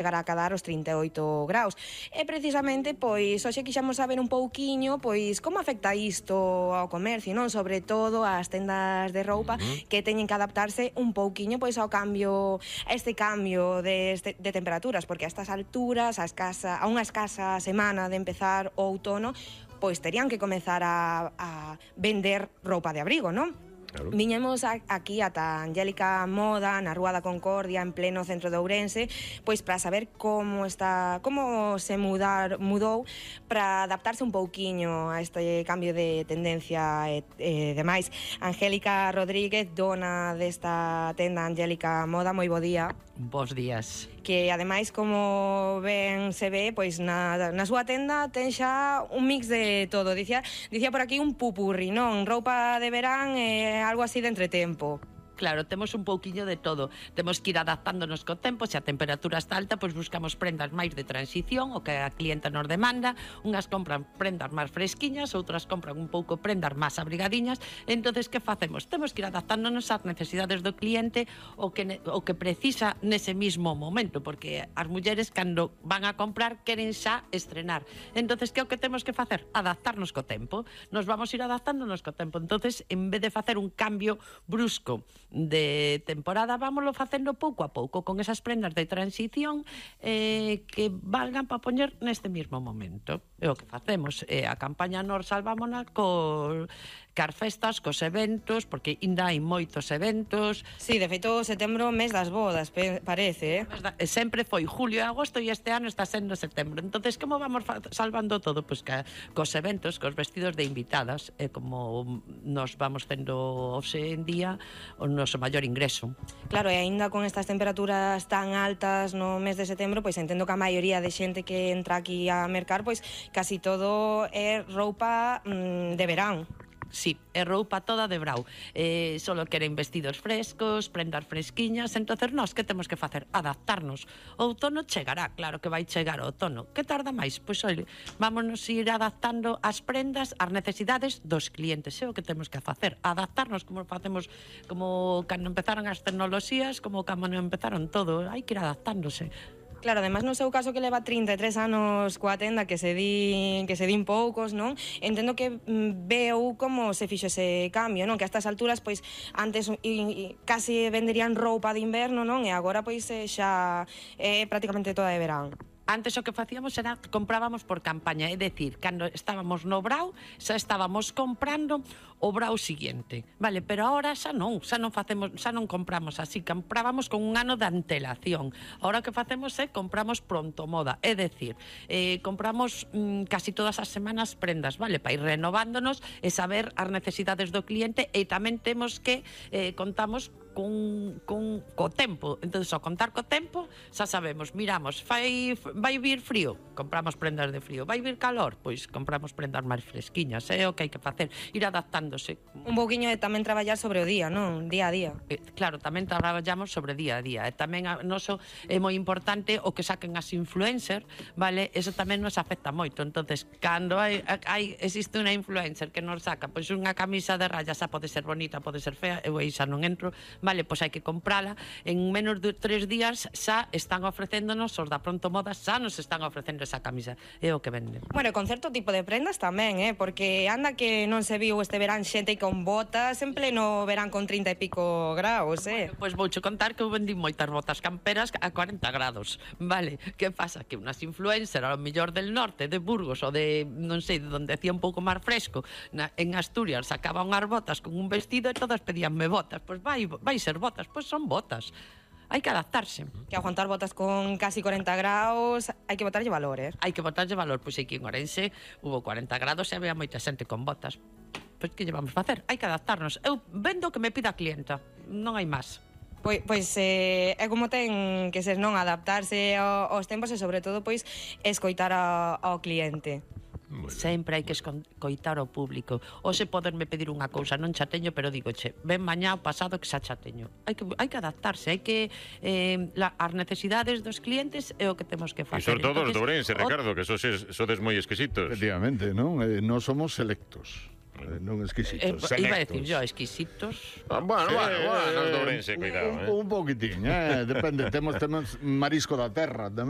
chegar a cadar os 38 graus. E precisamente, pois, hoxe quixamos saber un pouquiño, pois, como afecta isto ao comercio, non? Sobre todo ás tendas de roupa que teñen que adaptarse un pouquiño, pois, ao cambio, a este cambio de temperaturas, porque a estas alturas, a unha escasa semana de empezar o outono, pois terían que comezar a vender roupa de abrigo, non? Claro. Viñemos aquí ata Angélica Moda, na Rúa da Concordia, en pleno centro de Ourense, pois para saber como se mudou para adaptarse un pouquiño a este cambio de tendencia e demais. Angélica Rodríguez, dona desta tenda Angélica Moda, moi bo día. Bos días. Que ademais, como ben se ve, pois na súa tenda ten xa un mix de todo. Dicía por aquí un pupurri, non? Roupa de verán e algo así de entretempo. Claro, temos un pouquiño de todo. Temos que ir adaptándonos co tempo. Se a temperatura está alta, pois buscamos prendas máis de transición, o que a clienta nos demanda. Unhas compran prendas máis fresquiñas, outras compran un pouco prendas máis abrigadiñas. Entonces, que facemos? Temos que ir adaptándonos ás necesidades do cliente o que precisa nese mismo momento, porque as mulleres, cando van a comprar, queren xa estrenar. Entonces, que é o que temos que facer? Adaptarnos co tempo. Nos vamos ir adaptándonos co tempo. Entonces, en vez de facer un cambio brusco de temporada, vámoslo facendo pouco a pouco, con esas prendas de transición que valgan para poñer neste mismo momento. É o que facemos. A campaña nos salvámona cas festas, cos eventos, porque ainda hai moitos eventos. Sí, de feito, setembro, mes das bodas, parece, Sempre foi julio e agosto e este ano está sendo setembro. Entonces, como vamos salvando todo? Pois cos eventos, cos vestidos de invitadas, como nos vamos tendo hoxe en día o noso maior ingreso. Claro, e aínda con estas temperaturas tan altas no mes de setembro, pois entendo que a maioría de xente que entra aquí a mercar, pois casi todo é roupa de verán. Sí, é roupa toda de brau. Solo queren vestidos frescos, prendas fresquiñas. Entonces, nós que temos que facer? Adaptarnos. O outono chegará, claro que vai chegar o outono. Que tarda máis? Pois, olhe, vámonos ir adaptando as prendas ás necesidades dos clientes. É o que temos que facer. Adaptarnos como facemos, como cando empezaron as tecnoloxías, como cando empezaron todo. Hai que ir adaptándose. Claro, además no seu caso que leva 33 anos coa tenda, que se din poucos, non? Entendo que veu como se fixo ese cambio, non? Que a estas alturas, pois, antes casi venderían roupa de inverno, non? E agora, pois, xa é prácticamente toda de verán. Antes o que facíamos era que comprábamos por campaña, é dicir, cando estábamos no brau, xa estábamos comprando o brau siguiente, vale, pero agora xa non compramos así, comprábamos con un ano de antelación. Agora o que facemos é compramos pronto moda, é dicir, compramos casi todas as semanas prendas, vale, para ir renovándonos e saber as necesidades do cliente, e tamén temos que contamos co tempo. Entonces, ao contar co tempo, xa sabemos, miramos, vai vir frío, compramos prendas de frío, vai vir calor, pois compramos prendas máis fresquiñas. É o que hai que facer, ir adaptándose. Un pouquiño de tamén traballar sobre o día, non? Día a día. Claro, tamén traballamos sobre día a día. E tamén a noso é moi importante o que saquen as influencer, vale? Eso tamén nos afecta moito. Entonces, cando existe unha influencer que nos saca pois unha camisa de rayas, xa pode ser bonita, pode ser fea, eu aí xa non entro, vale, pois hai que comprala. En menos de 3 días xa están ofrecéndonos, os da Pronto Moda xa nos están ofrecendo esa camisa. É o que venden. Bueno, con certo tipo de prendas tamén, porque anda que non se viu este verán xente con botas en pleno verán con 30 e pico graus, Bueno, pois vouche contar que eu vendí moitas botas camperas a 40 grados, vale? Que pasa? Que unhas influencer, ao mellor del norte, de Burgos, ou de, non sei, de onde hacía un pouco máis fresco, en Asturias, sacaba unhas botas con un vestido e todas pedíanme botas. Pois vai ser botas, pois son botas. Hai que adaptarse. Que aguantar botas con casi 40 graus, hai que botarlle valor, Hai que botarlle valor, pois aquí en Ourense hubo 40 grados e había moita xente con botas. Pois que lle vamos facer? Hai que adaptarnos. Eu vendo o que me pida a clienta, non hai máis. Pois é como ten que ser, non? Adaptarse aos tempos e, sobre todo, pois, escoitar ao cliente. Sempre hai que escoitar ao público. Hoxe poderme pedir unha cousa, non xa teño, pero digoche, ven mañá o pasado que xa teño. Hai que adaptarse, hai que as necesidades dos clientes é o que temos que facer. E sobre todo os de Ourense, Ricardo, que sodes moi exquisitos. Efectivamente, non? Nós somos selectos. Non exquisitos, selectos. Iba a decir yo, exquisitos. Bueno, nos de Ourense, cuidado. Un poquitín, depende, temos marisco da terra tamén.